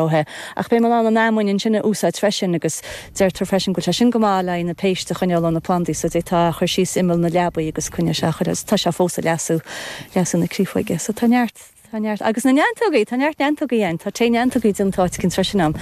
É. Ach beidh mé in ann an fheamainn ansin a úsáid freisin agus deirtear freisin go bhfuil sé sin go maith le haghaidh na péist a choinneáil ó na plandaí so d'fhéadfá é a chur síos imeall na leabaí agus coinneoidh sé chuile tá sé fós ag leasú, leasú na créafóige. So tá neart, tá neart, agus na neantógaí, tá neart neantógaí ann, tá tae neantógaí déanta áit eicínt freisin a'm.